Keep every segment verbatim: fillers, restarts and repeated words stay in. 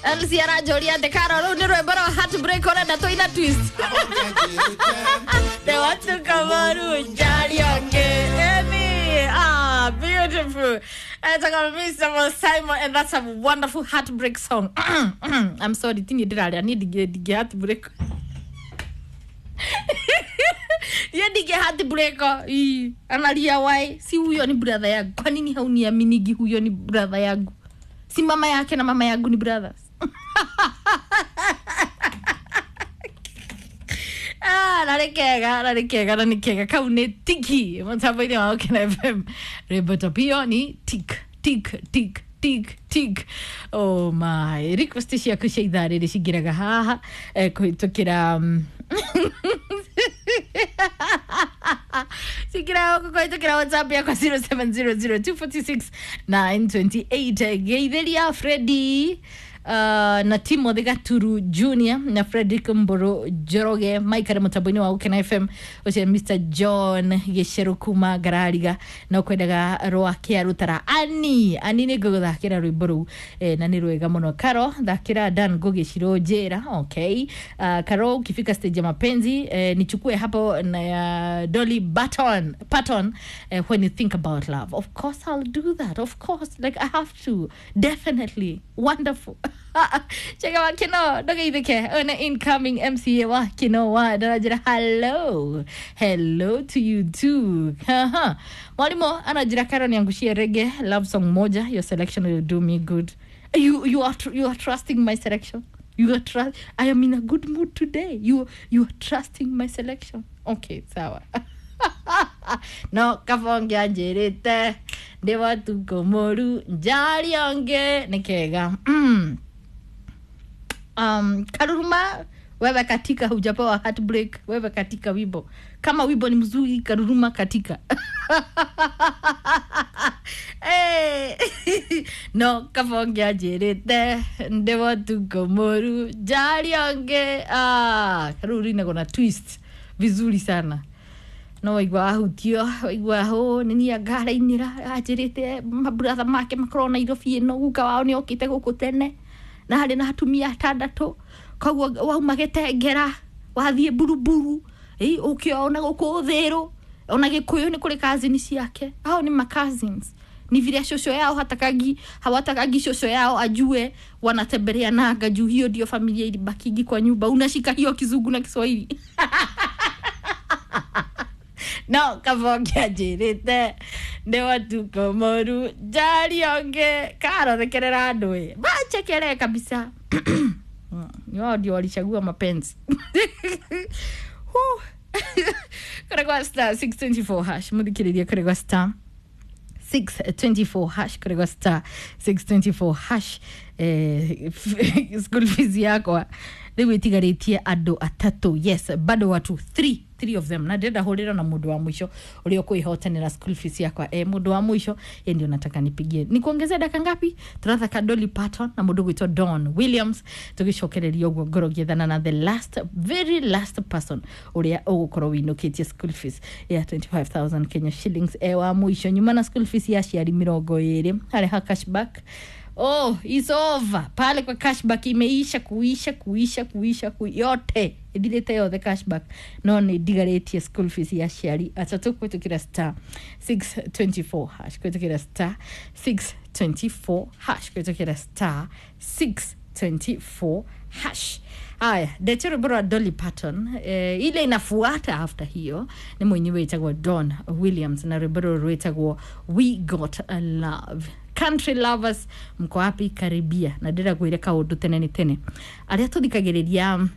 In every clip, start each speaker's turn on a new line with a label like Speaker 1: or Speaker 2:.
Speaker 1: L C aranjũria atĩ Karo rũu nĩ rwĩmbo rwa heartbreak ũrenda tũina twist. They want to come on Emi. Ah, beautiful. Etagwo Mister Simon, and that's a wonderful heartbreak song. I'm sorry, tini ndĩraria niĩ ndingĩ ndingĩ heartbreak. Niĩ ndingĩ heartbreak. Ii, analia why? Si huyo ni brother yangu. Kwa nini hauniaminigi huyo ni brother yangu? Si mama yake na mama yangu ni brothers. Ah, na nĩ kega, na nĩ kega, na nĩ kega. Kau nĩ tiki mũtambo-inĩ wa Ũkena F M. Rwĩmbo topio ni tik tik tik tik tik. Oh my, request ciaku cia ithaa rĩrĩ cingĩraga haha eh, kũhĩtũkĩra um, cingĩraga gũkũ kũhĩtũkĩra WhatsApp yakwa zero seven zero zero two four six nine two eight. Geithĩria Freddy Uh, na Timothy Gaturu Junior na Frederick Mburu Njoroge maikare mutambo-inĩ wa Ũkena F M ũcio Mister John Gĩcerũ kuma Ngarariga na ũkwendaga rwa Kĩarũtara. Ani ani nĩ ngũgũthakĩra rwĩmbo rũu eh, na nĩ rwega mũno. Karo thakĩra Dan Ngugi Shiro Njĩra. Okay. Uh, Karo ukifika stage ya mapenzi eh, nichukue hapo na ya Dolly Parton Parton eh, when you think about love. Of course I'll do that. Of course, like I have to. Definitely. Wonderful. Cheka wa kino ndogeithike one incoming M C A wa kino wa ndarajira hello hello to you too. Haha mwalimu anajira Karo niangushie reggae love song moja, your selection will do me good. You you are you are trusting my selection. You are trust I am in a good mood today. You you are trusting my selection. Okay, sawa. No kabonge anjirite ndi watuko moru njari onge nĩ kega. Mm. Um, Karuruma wewe katika hujapewa heartbreak, wewe katika wimbo. Kama wimbo ni mzuri Karuruma katika. Hey. No kabonge anjirite ndi watuko moru njari onge. Ah, Karuru ina gona twist vizuri sana. No waigua ahutio waigua ho nĩ niĩ ngarainĩra anjĩrĩte maburatha make makorwo Nairobi ĩno guka wao nĩ okĩte gũkũ tene na harĩ na atumia atandatũ koguo wauma Gĩtengera wathiĩ Buruburu ĩ ũkĩona gũkũ Thĩrũ ona Gĩkũyũ nĩ kũrĩ cousin ciake hao nĩ ma cousins ni vile shosho yao hatakagi hawatakagi shosho yao ajue wanatembelea nanga juu hiyo ndio familia ilibakigi kwa nyumba unashika hiyo Kizungu na Kiswahili. No kabonge anjĩrĩte nĩ watuko moru njari onge Karo thekerera andũ ĩ manjekere kabisa. Ni wao ndio walichagua mapenzi. Kore kwa star six twenty-four hash muthikĩrĩria kore kwa star six twenty-four hash kore kwa star six twenty-four hash eh, school fees yakwa rĩu ĩtigarĩtie andũ atatũ. Yes, bado watu three three of them na ndĩrenda hũrĩra na mũndũ wa mũico ũrĩa ũkwĩhotanĩra school fees yakwa. Eh, mũndũ wa mũico yeye ndio nataka nipigie. Nikuongezea dakika ngapi? Tũrathaka Dolly Parton na mũndũ gwĩtwo Don Williams tũgĩcokereria ũguo ngoro gĩethana na the last very last person ũrĩa ũgũkorwo wĩinũkĩtie school fees ya twenty-five thousand Kenya shillings eh, wa mũico nyuma na school fees ya aciari mĩrongo ĩrĩ harĩ ha cashback. Oh, it's over. Pale kwa cashback imeisha kuisha kuisha kuisha ku yote. Ithirite yothe cashback. No ni ndigarĩtie school fees ya aciari atatũ kũhĩtũkĩra star six twenty-four hash kũhĩtũkĩra star six twenty-four hash kũhĩtũkĩra star six twenty-four hash. Aya, ndete rwĩmbo rwa Dolly Parton eh, ile inafuata after hiyo ni mwenyewe wĩtagwo Don Williams na rwĩmbo rũrũ rwĩtagwo We Got a Love. Country lovers mko wapi? Karibia na ndĩra kwĩre kaũndũ tene nĩ tene arĩa tũthikagĩrĩria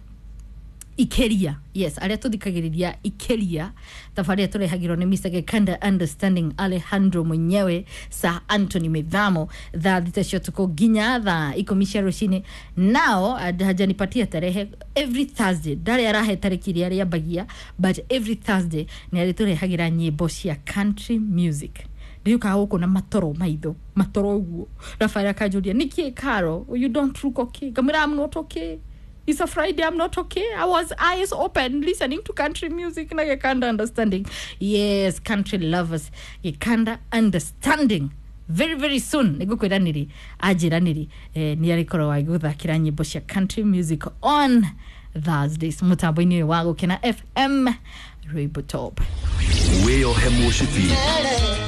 Speaker 1: Ikeria. Yes, arĩa tũthikagĩrĩria Ikeria tabarĩa tũrehagĩrwo nĩ Mister Gikanda Understanding Alejandro mwenyewe Sir Anthony Mithamo thaa thita cia ũtukũ nginya thaa ikũmi cia rũcinĩ. Nao hajanipatia tarehe every Thursday ndarĩ arahe tarĩki iria rĩambagia but every Thursday nĩ arĩtũrehagĩra nyĩmbo cia country music. Ndiukaga gũkũ na matoro maitho matoro ũguo Rafael akanjũria nĩkĩ Karo you don't look okay ngamwĩra I'm not okay. It's a Friday, I'm not okay. I was eyes open listening to country music na Gikanda Understanding. Yes, country lovers, Gikanda Understanding. Very very soon nä ngå kwä ra nä rä anjä ra nä rä nä arä korwo agä gå thakä ra nyä mbo cia country music on Thursdays må tambo-inä å yå wa Gå Kena F M, rwimbo top.
Speaker 2: Wĩyohe mũcibi,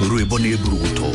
Speaker 2: rwĩmbo nĩ mburuguto.